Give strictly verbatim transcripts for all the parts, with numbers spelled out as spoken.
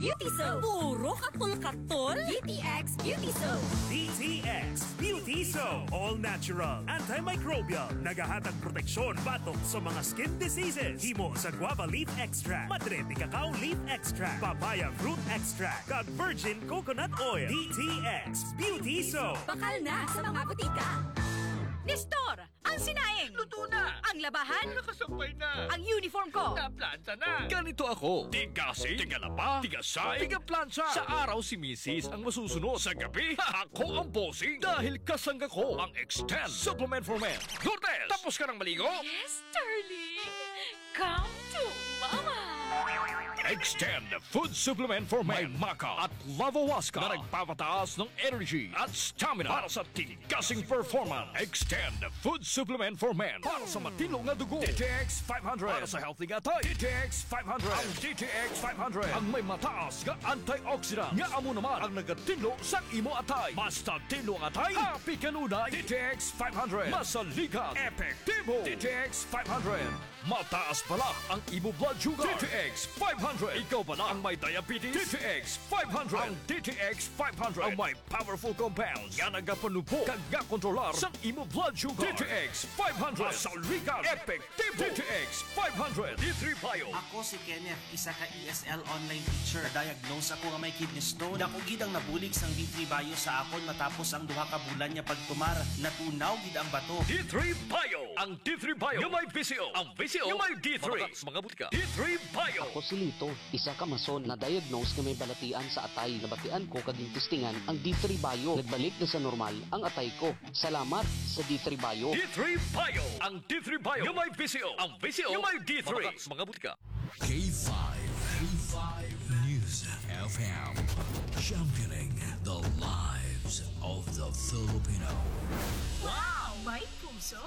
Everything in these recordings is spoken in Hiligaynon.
Beauty Soap. Puro katol-katol. D T X Beauty Soap. D T X Beauty Soap. All natural, antimicrobial. Nagahatag proteksyon batok sa mga skin diseases. Himo sa guava leaf extract, madre de cacao leaf extract, papaya fruit extract, kag virgin coconut oil. D T X Beauty Soap. Bakal na sa mga butika. Nestor, ang sinaing. Luto na. Ang labahan. Nakasampay na. Ang uniform ko. Naplanta na. Ganito ako. Tiga-asing, tiga-laba, tiga-say, tiga-plansa. Sa araw si misis ang masusunod. Sa gabi, ako ang bossing. Dahil kasangga ko ang Extend Supplement for Men. Lourdes, tapos ka nang maligo? Yes, darling. Come to Mama. Extend Food Supplement for Men. May maca at lavahuasca na nagpapataas ng energy at stamina para sa tigasing performance. Extend Food Supplement for Men para sa matino nga dugo. D T X five hundred para sa healthy nga atay. D T X five hundred. Ang D T X five hundred ang may mataas nga antioxidant nga amo naman ang nagatinlo sa imo atay. Basta tinlo ang atay, happy kanunay. D T X five hundred. Masaligan. Epektibo. D T X five hundred. Mataas bala ang imo blood sugar. D T X five hundred. Ikaw bala ang may diabetes? D T X five hundred. Ang D T X five hundred ang may powerful compounds nga nagapanubo kag gakontrolar sa imo blood sugar. D T X five hundred. Masaligan. Epektibo. D T X five hundred. D three Bio. Ako si Kenneth, isa ka E S L online teacher. Diagnose ako nga may kidney stone. Dako gid ang nabulig sang D three Bio sa akon matapos ang duha ka bulan nga pagtumar. Natunaw gid ang bato. D three Bio. Ang D three Bio nga may visyo. Ang visyo nga may D three. Mabakal sa mga butika. D three Bio. Ako si Lito, isa ka mason na diagnose nga may balatian sa atay. Nabatian ko kag gintistingan ang D three Bio. Nagbalik na sa normal ang atay ko. Salamat sa D three Bio. D three Bio. Ang D three Bio nga may visyo. Ang visyo nga may D three. Mabakal sa mga butika. K five, K five News F M, championing the lives of the Filipino. Wow! May puso!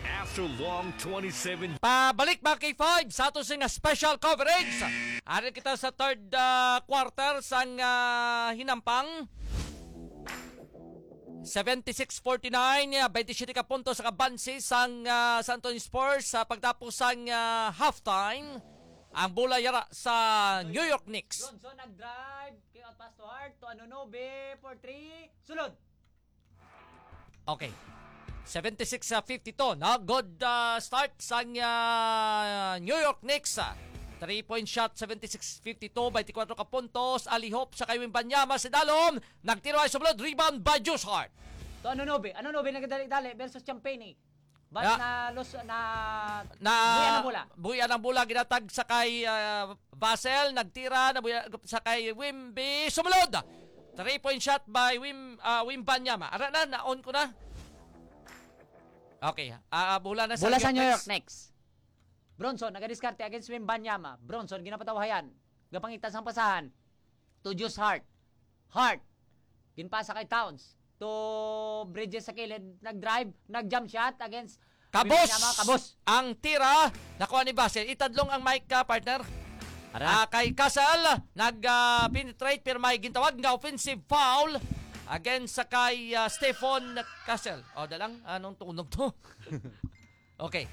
After long twenty-seven Pabalik, mga K five, sa ato sing special coverage. Ari kita sa third, ah, quarter sang, ah, hinampang. Seventy-six forty-nine, ah, twenty-seven ka puntos ang abanse sang, ah, San Antonio Spurs sa pagtapos sang, ah, halftime. Ang bola yara sa New York Knicks. Bronson nag-drive, kick out pass to Hart, to Anunoby, for three, sulod. Okay. Seventy-six sa fifty-two, no? Good, ah, start sang, ah, New York Knicks, ah. Three-point shot, seventy-six fifty-two, twenty-four ka puntos. Alihop sa kay Wembanyama, si Dalon. Nagtiro ay sumulod. Rebound by Josh Hart. To Anunoby. Anunoby nagdali-dali versus Champagnie. But Ah. na lus-, na Na buhian ang bola. Buhian ang bola, ginatag sa kay, ah, Vassell, nagtira, na buhian sa kay Wemby, sumulod. Three-point shot by Wem-, ah, Wembanyama. Ara na, na-on ko na. Okay, ah, ah, bola na sa Bola sa New York Knicks. Knicks. Bronson, nagadiskarte against Wembanyama. Bronson, ginapatawahayan. Gapangita sang pasahan. To Josh Hart. Hart. Ginpasa kay Towns. To Bridges sa kilid. Nag-drive. Nag-jump shot against Kabos! Wembanyama. Kabos! Ang tira, nakuha ni Vassell. Itadlong ang mic ka, partner. Ara. Ah, kay Castle, nag, ah, penetrate, pero may gintawag nga offensive foul against sa kay, ah, Stephen Castle. O, dalang, anong tunog to? Okay.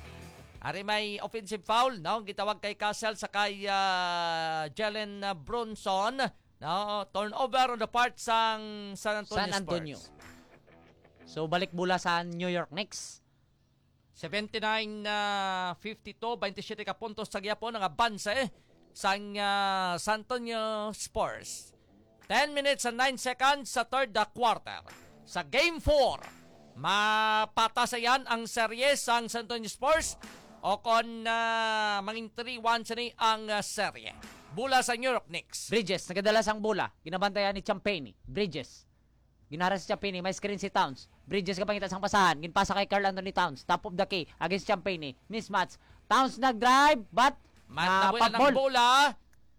Ari may offensive foul, no? Gitawag kay Castle sa kay, ah, Jalen, ah, Bronson, no? Turnover on the part sang San Antonio San Antonio. Spurs. So, balik bola sa New York Knicks. Seventy-nine, ah, fifty-two, twenty-seven ka puntos sa gihapon ang abanse sang, ah, San Antonio Spurs. Ten minutes and nine seconds sa third, ah, quarter. Sa Game four, mapatasayan ang serye sang San Antonio Spurs o kon, ah, mangin three one sini ang, ah, serye. Bola sa New York Knicks. Bridges, nagadala sang bola. Ginabantayan ni Champagnie. Bridges. Ginara si Champagnie, may screen si Towns. Bridges ka pangita sang pasahan, ginpasa kay Karl Anthony Towns. Top of the key, against Champagnie. Mismatch. Towns nag-drive, but Ma-, na nabuya foul. Ng bola.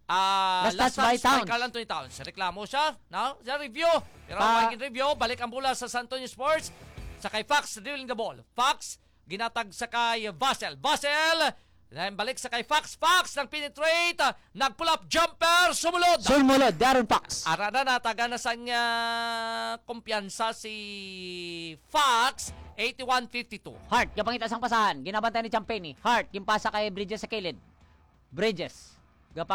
Ah, last touch by Towns. Karl Anthony Towns. Reklamo siya, no? Sa review. Pero pa- may review, balik ang bola sa San Antonio Spurs. Sa kay Fox, dribbling the ball. Fox, ginatag sa kay Vassell. Vassell, then balik sa kay Fox. Fox, nag-penetrate, ah, nag-pull up jumper, sumulod. Sumulod, De'Aaron Fox. Ara na, nataga na sang, ah, kumpiyansa si Fox, eighty-one fifty-two. Hart, gapangita sang pasahan. Ginabantay ni Champagnie. Hart, ginpasa kay Bridges sa kilid. Bridges. Gapa